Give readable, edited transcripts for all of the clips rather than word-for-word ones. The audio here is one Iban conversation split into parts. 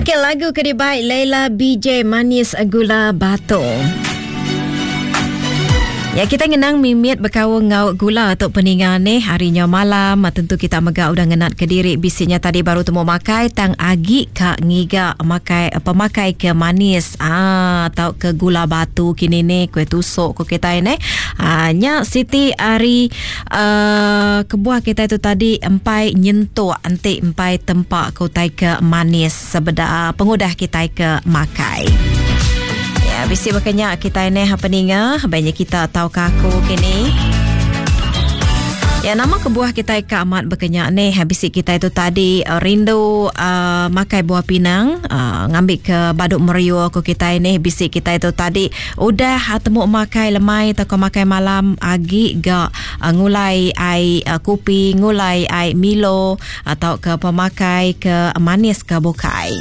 Okey, lagu ke dibai Leila BJ Manis Gula Batu. Ya kita ngenang mimit bekaul enggau gula tu peninga ni hari nya malam tentu kita mega udah ngenat ke diri bisinya tadi baru temu makai tang agi ka ngiga makai pemakai ke manis ah tau ke gula batu kini ni kuih tusuk ko kitai ni ah nya siti ari uh, kebuah kitai tu tadi empai nyentuk enti empai tempa ke utai ke manis sebeda pengudah kitai ke makai. Ya, bisi bakanya kitai neh apa ninga, banyak kita tau ke aku kini. Ya nama kebuah kitai ke amat bekenya neh bisi kitai tu tadi eh, rindu uh, makai buah pinang uh, ngambil ke baduk meriu ko kitai neh bisi kitai tu tadi Udah temu makai lemai tauka makai malam agi ga ngulai ai kopi, ngulai ai Milo tauka pemakai ke manis ke bukai.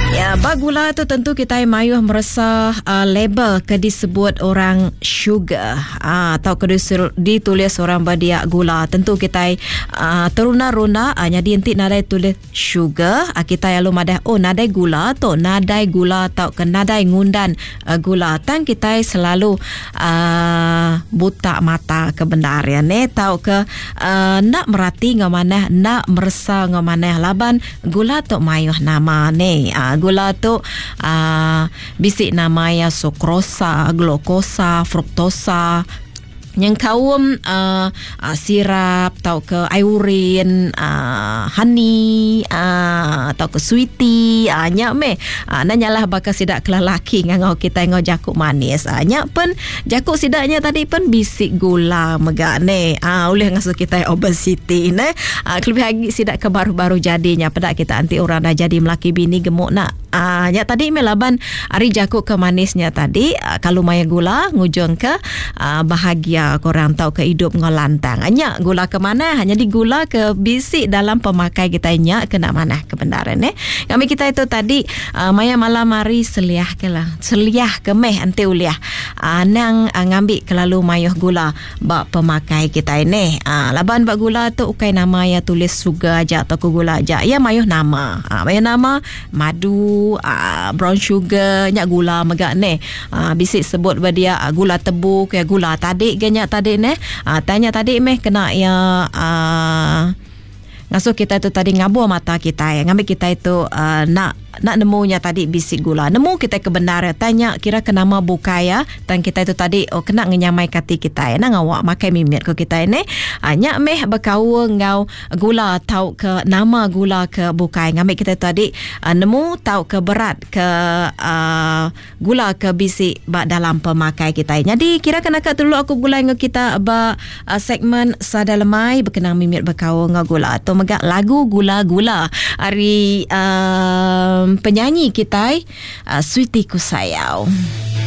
Ya, ba gula tu tentu kitai mayuh meresa uh, label ke disebut orang sugar uh, atau ke ditulis orang ba dia gula. Tentu kitai uh, teruna-runa uh, nyadi enti nadai tulis Sugar, kitai alu madah oh nadai gula tu, nadai gula tauka nadai ngundan gula. Tang kitai selalu uhh buta mata ke bendar iya neh tauka uhh enda merati enggau manah, enda meresa enggau manah laban gula tu mayuh nama neh. uhh Gula tu uhh bisi nama iya sukrosa, glukosa, fruktosa. Nyengkaum uhh sirap tauka ai urin uhh honey uhh tauka sweety uhh nya meh uhh enda nyalah baka sida ke lelaki ngangau kitai enggau jaku manis uhh nya pen jaku sida nya tadi pen bisi gula mega neh uhh ulih ngasuh kitai obesity neh uhh kelebih agi sida ke baru-baru jadi nya peda kita enti orang dah jadi melaki bini gemuk nak uhh nya tadi meh laban ari jaku ke manis nya tadi kalu maya gula ngujungka bahagia korang tauka idup enggau lantang. Nya gula ke manah. Nyadi gula ke bisi dalam pemakai kitai nya kena manah ke bendar neh. Ngambi kitai tu tadi maya malam hari seliah ke lah. Seliah ke meh enti ulih. Anang ngambi kelalu mayuh gula ba pemakai kitai neh. Laban ba gula tu ukai nama iya tulis sugar aja tauka gula aja. Iya mayuh nama. Mayuh nama madu, brown sugar nya gula mega neh. Bisi sebut ba dia gula tebu ke gula tadi ga nya tadi neh. Tang nya tadi meh kena iya uhh ngasuh kitai tu tadi ngabur mata kitai ngambi kitai tu uhh enda enda nemu nya tadi bisi gula. Nemu kitai ke bendar tang nya kira ke nama bukai iya tang kitai tu tadi oh kena ngenyamai ke ati kitai. Anang ngawa makai mimit ku kitai neh. Nya meh bekaul enggau gula tauka nama gula ke bukai ngambi kitai tu tadi nemu tauka berat ke uhh gula ke bisi ba dalam pemakai kitai. Nyadi kira ke naka dulu aku begulai enggau kita ba segmen Sada Lemai bekenang mimit bekaul enggau gula. Tu mega lagu Gula Gula ari uhh penyanyi kitai Sweety Kusayau.